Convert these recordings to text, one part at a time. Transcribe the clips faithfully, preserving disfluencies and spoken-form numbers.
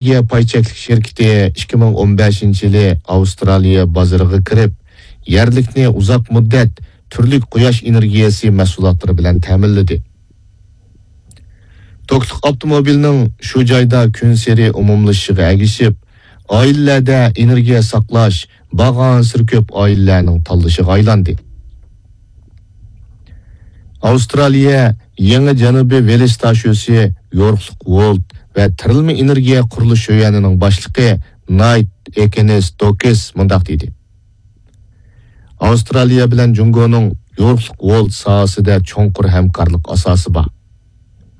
ئېنېرگىيە پاي چەكلىك شىركىتى ئىككى مىڭ ئون بەشىنچى يىلى ئاۋسترالىيە بازىرىغا كىرىپ، يەرلىكنى ئۇزاق مۇددەت تۈرلۈك قۇياش ئېنېرگىيەسى مەھسۇلاتلىرى بىلەن تەمىنلىدى. توكلۇق ئاپتوموبىلنىڭ شۇ جايدا كۈنسېرى ئومۇملىشىشىغا ئەگىشىپ، ئائىلىلەردە ئېنېرگىيە ساقلاش بارغانسېرى كۆپ ئائىلىلەرنىڭ تاللىشىغا ئايلاندى. ئاۋسترالىيە يېڭى جەنۇبىي ۋېلىس تاشيولى يورۇقلۇق ۋولت ۋە تىرىلما ئېنېرگىيە قۇرۇلۇش يۈەنىنىڭ باشلىقى نايت ئېكىنىس دوكىس مۇنداق دېدى: ئاۋسترالىيە بىلەن جۇڭگونىڭ يورۇقلۇق ۋولت ساھەسىدە چوڭقۇر ھەمكارلىق ئاساسى بار.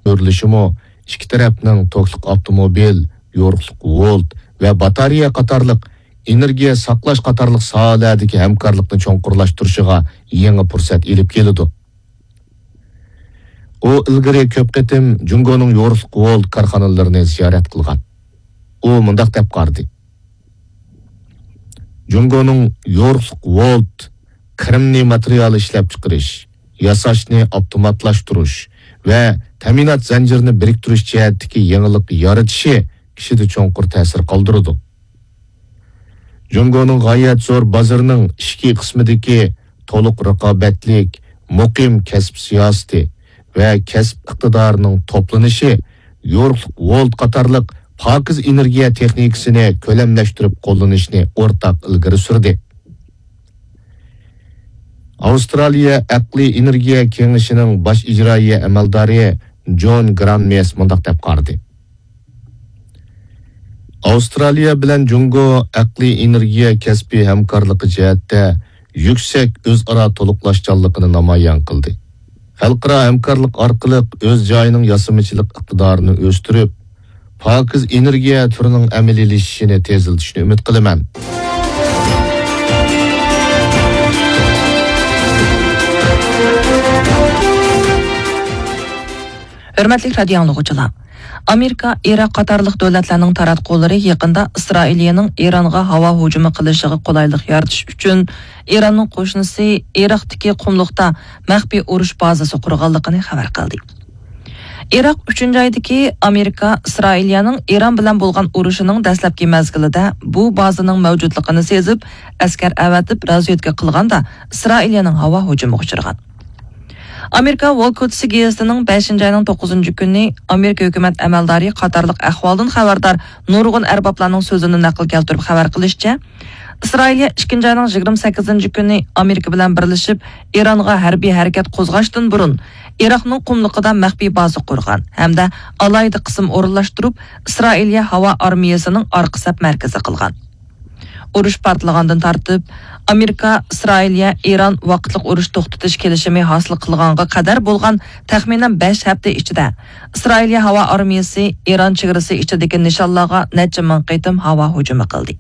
كۆرۈلۈشىمۇ ئىككى تەرەپنىڭ توكلۇق ئاپتوموبىل، يورۇقلۇق ۋولت ۋە باتارېيە قاتارلىق ئېنېرگىيە ساقلاش قاتارلىق ساھەلەردىكى ھەمكارلىقنى چوڭقۇرلاشتۇرۇشىغا يېڭى پۇرسەت ئېلىپ كېلىدۇ. ئۇ ئىلگىرى كۆپ قېتىم جۇڭگونىڭ يورۇقلۇق ۋولت كارخانىلىرىنى زىيارەت قىلغان. ئۇ مۇنداق دەپ قارىدى: جۇڭگونىڭ يورۇقلۇق ۋولت، كىرىمنى ماتېرىيال ئىشلەپچىقىرىش، ياساشنى ئاپتوماتلاشتۇرۇش ۋە تەمىنات زەنجىرىنى بىرىكتۈرۈش جەھەتتىكى يېڭىلىق يارىتىشى كىشىدە چوڭقۇر تەسىر قالدۇرىدۇ. جۇڭگونىڭ غايەت زور بازىرىنىڭ ئىچكى قىسمىدىكى تولۇق رىقابەتلىك، مۇقىم كەسىپ سىياسىتى ۋە كەسىپ ئىقتىدارىنىڭ توپلىنىشى يورۇقلۇق ۋولت قاتارلىق پاكىز ئېنېرگىيە تېخنىكىسىنى كۆلەملەشتۈرۈپ قوللىنىشنى ئورتاق ئىلگىرى سۈردى. ئاۋسترالىيە ئەقلىي ئېنېرگىيە كېڭىشىنىڭ باش ئىجرائىيە ئەمەلدارى جون گرانمېس مۇنداق دەپ قارىدى: ئاۋسترالىيە بىلەن جۇڭگو ئەقلىي ئېنېرگىيە كەسپىي ھەمكارلىقى جەھەتتە يۈكسەك ئۆزئارا تولۇقلاشچانلىقىنى نامايان قىلدى. خەلقئارا ھەمكارلىق ئارقىلىق ئۆز جايىنىڭ ياسىمىچىلىق ئىقتىدارىنى ئۆستۈرۈپ، پاكىز ئېنېرگىيە تۈرىنىڭ ئەمەلىيلىشىشىنى تېزلىتىشىنى ئۈمىد قىلىمەن. ھۆرمەتلىك رادىيو ئاڭلىغۇچىلار! ئامېرىكا، ئىراق قاتارلىق دۆلەتلەرنىڭ تاراتقۇلىرى يېقىندا ئىسرائىلىيەنىڭ ئىرانغا ھاۋا ھۇجۇمى قىلىشىغا قولايلىق يارىتىش ئۈچۈن ئىراننىڭ قوشنىسى ئىراقتىكى قۇملۇقتا مەخپىي ئۇرۇش بازىسى قۇرغانلىقىنى خەۋەر قىلدى. ئىراق ئۈچىنچى ئايدىكى ئامېرىكا ئىسرائىلىيەنىڭ ئىران بىلەن بولغان ئۇرۇشىنىڭ دەسلەپكى مەزگىلىدە بۇ بازىنىڭ مەۋجۇتلۇقىنى سېزىپ، ئەسكەر ئەۋەتىپ رازۋېدكا قىلغاندا، ئىسرائىلىيەنىڭ ھاۋا ھۇجۇمىغا ئۇچرىغان. ئامېرىكا ۋول كوتىسى گېزىتىنىڭ بەشىنچى ئاينىڭ توققۇزىنچى كۈنى ئامېرىكا ھۆكۈمەت ئەمەلدارى قاتارلىق ئەھۋالدىن خەۋەردار نۇرغۇن ئەربابلارنىڭ سۆزىنى نەقىل كەلتۈرۈپ خەۋەر قىلىشىچە، ئىسرائىلىيە ئىككىنچى ئاينىڭ يىگىرمە سەككىزىنچى كۈنى ئامېرىكا بىلەن بىرلىشىپ ئىرانغا ھەربىي ھەرىكەت قوزغاشتىن بۇرۇن ئىراقنىڭ قۇملۇقىدا مەخپىي بازا قۇرغان ھەمدە ئالاھىدە قىسىم ئورۇنلاشتۇرۇپ، ئىسرائىلىيە ھاۋا ئارمىيەسىنىڭ ئارقا سەپ مەركىزى قىلغان. ئۇرۇش پارتلىغاندىن تارتىپ، ئامېرىكا، ئىسرائىلىيە، ئىران ۋاقىتلىق ئۇرۇش توختىتىش كېلىشىمى ھاسىل قىلغانغا قەدەر بولغان تەخمىنەن بەش ھەپتە ئىچىدە، ئىسرائىلىيە ھاۋا ئارمىيەسى ئىران چېگرىسى ئىچىدىكى نىشانلارغا نەچچە مىڭ قېتىم ھاۋا ھۇجۇمى قىلدى.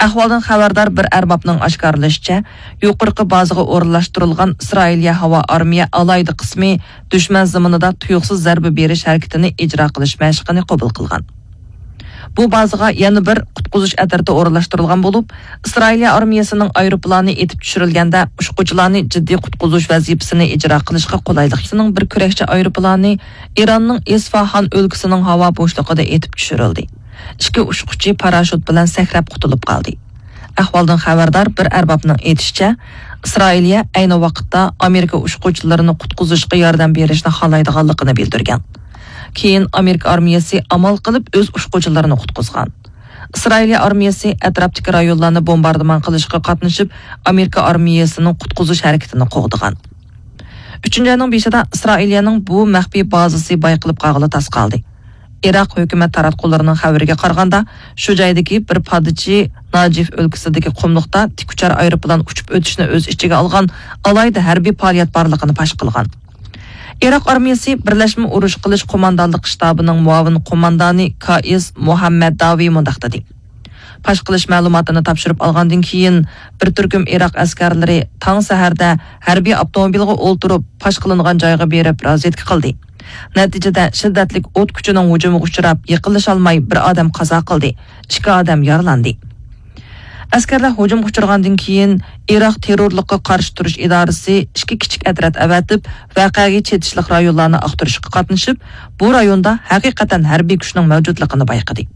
ئەھۋالدىن خەۋەردار بىر ئەربابنىڭ ئاشكارىلىشىچە، يۇقىرىقى بازىغا ئورۇنلاشتۇرۇلغان ئىسرائىلىيە ھاۋا ئارمىيە ئالاھىدە قىسمى دۈشمەن زېمىنىدا تۇيۇقسىز زەربە بېرىش ھەرىكىتىنى ئىجرا قىلىش مەشىقىنى قوبۇل قىلغان. بۇ بازىغا يەنە بىر قۇتقۇزۇش ئەترىتى ئورۇنلاشتۇرۇلغان بولۇپ، ئىسرائىلىيە ئارمىيەسىنىڭ ئايروپىلانى ئېتىپ چۈشۈرۈلگەندە، ئۇچقۇچىلارنى جىددىي قۇتقۇزۇش ۋەزىپىسىنى ئىجرا قىلىشقا قولايلىق. بىر كۈرەكچى ئايروپىلانى ئىراننىڭ ئىسفاھان ئۆلكىسىنىڭ ھاۋا بوشلۇقىدا ئېتىپ چۈشۈرۈلدى. ئىككى ئۇچقۇچى پاراشوت بىلەن سەكرەپ قۇتۇلۇپ قالدى. ئەھۋالدىن خەۋەردار بىر ئەربابنىڭ ئېيتىشىچە، ئىسرائىلىيە ئەينى ۋاقىتتا ئامېرىكا ئۇچقۇچىلىرىنى قۇتقۇزۇشقا ياردەم بېرىشنى خالايدىغانلىقىنى بىلدۈرگەن. كېيىن ئامېرىكا ئارمىيەسى ئامال قىلىپ ئۆز ئۇچقۇچىلىرىنى قۇتقۇزغان. ئىسرائىلىيە ئارمىيەسى ئەتراپتىكى رايونلارنى بومباردىمان قىلىشقا قاتنىشىپ، ئامېرىكا ئارمىيەسىنىڭ قۇتقۇزۇش ھەرىكىتىنى قوغدىغان. ئۈچىنچى ئاينىڭ بېشىدا ئىسرائىلىيەنىڭ بۇ مەخپىي بازىسى بايقىلىپ قالغىلى تاس قالدى. ئىراق ھۆكۈمەت تاراتقۇلىرىنىڭ خەۋىرىگە قارىغاندا، شۇ جايدىكى بىر پادىچى ناجىف ئۆلكىسىدىكى قۇملۇقتا تىك ئۇچار ئايروپىلان ئۇچۇپ ئۆتۈشنى ئۆز ئىچىگە ئالغان ئالاھىدە ھەربىي پائالىيەت بارلىقىنى پاش قىلغان. ئىراق ئارمىيەسى بىرلەشمە ئۇرۇش قىلىش قوماندانلىقى شتابىنىڭ مۇئاۋىن قوماندانى كائىس مۇھەممەد داۋى مۇنداق دېدى: پاش قىلىش مەلۇماتىنى تاپشۇرۇپ ئالغاندىن كېيىن، بىر تۈركۈم ئىراق ئەسكەرلىرى تاڭ سەھەردە ھەربىي ئاپتوموبىلغا ئولتۇرۇپ، پاش قىلىنغان جايغا بېرىپ رازۋېدكا قىلدى. نەتىجىدە شىددەتلىك ئوت كۈچىنىڭ ھۇجۇمىغا ئۇچراپ، يېقىنلىشالماي بىر ئادەم قازا قىلدى، ئىككى ئادەم يارىلاندى. ئەسكەرلەر ھۇجۇمغا ئۇچرىغاندىن كېيىن، ئىراق تېررورلۇققا قارشى تۇرۇش ئىدارىسى ئىككى كىچىك ئەترەت ئەۋەتىپ، ۋەقەگە چېتىشلىق رايونلارنى ئاختۇرۇشقا قاتنىشىپ، بۇ رايوندا ھەقىقەتەن ھەربىي كۈچنىڭ مەۋجۇتلۇقىنى بايقىدى.